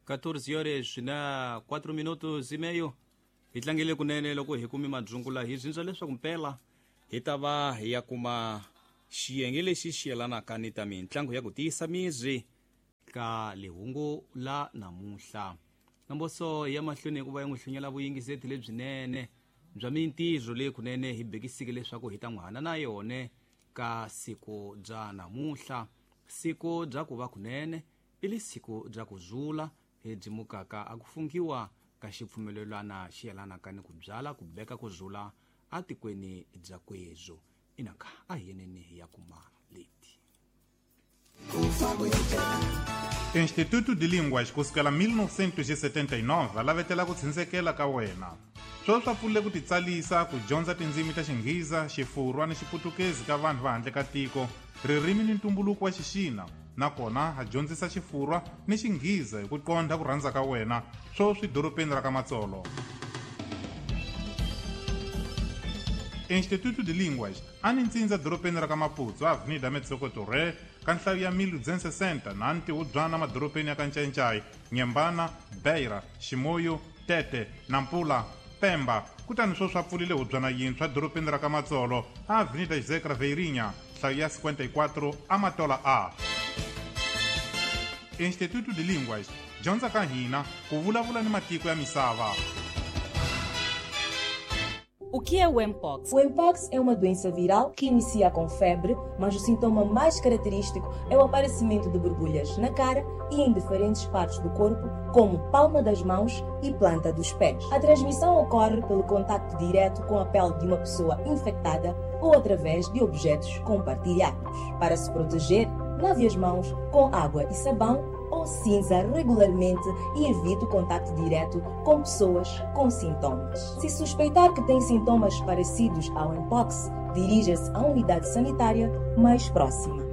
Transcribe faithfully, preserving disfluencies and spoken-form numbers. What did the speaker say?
catorze horas na quatro minutos e meio. Hi tlangele kunene loko hi kumi madzungula hi zinzwa leswaku mpela hi ta va hi ya kuma xiyenge lexi xi yelanaka ni ta mintlangu ya ku tiyisa miri ka lihungu la namuntlha. Namboso ya mahlweni hikuva yi n'wi hlunyela vuyingiseti lebyinene bya mintirho leyi kunene hi bekisike leswaku hi ta n'wi hana na yone ka siku bya namuntlha. Siku bya ku va kunene i li siku bya ku zula hi byi mukaka a ku fungiwa ka xipfumelelwana xi yelanaka ni ku byala ku beka ku zula atikweni bya kwezo. Inaka a hi yeneni hi ya kuma leti. Instituto de Línguas kusukela mil novecentos e setenta e nove a lavetela ku tshindzekela ka wena. Sweswi swa pfulile ku titsalisa ku dyondza tindzimi ta Xinghiza, Xifurwa ni Xiputukezi ka vanhu va handle ka tiko, ririmi ni ntumbuluko wa Xixina, nakona ha dyondzisa Xifurwa ni Xinghiza hi ku qondha ku rhandza ka wena, sweswi dorobeni ra ka Matsolo. Instituto de Línguas a ni ntsindza dorobeni ra ka Maputo, Avenida Metsoko Torre, ka nhlayo ya mil duzentos e sessenta na ntihubyana madorobeni ya ka Ncayincai, Nyembana, Beira, Ximoyo, Tete, Nampula, Pemba. Kutani sweswi swa pfulile hubyana yintshwa dorobeni ra ka Matsolo, Avenida José Craveirinha, nhlayo ya cinquenta e quatro, Amatola A. Instituto de Línguas, dyondza ka hina ku vulavula ni matiko ya misava. O que é o Mpox? O Mpox é uma doença viral que inicia com febre, mas o sintoma mais característico é o aparecimento de borbulhas na cara e em diferentes partes do corpo, como palma das mãos e planta dos pés. A transmissão ocorre pelo contacto direto com a pele de uma pessoa infectada ou através de objetos compartilhados. Para se proteger, lave as mãos com água e sabão ou cinza regularmente e evite o contacto direto com pessoas com sintomas. Se suspeitar que tem sintomas parecidos ao Mpox, dirija-se à unidade sanitária mais próxima.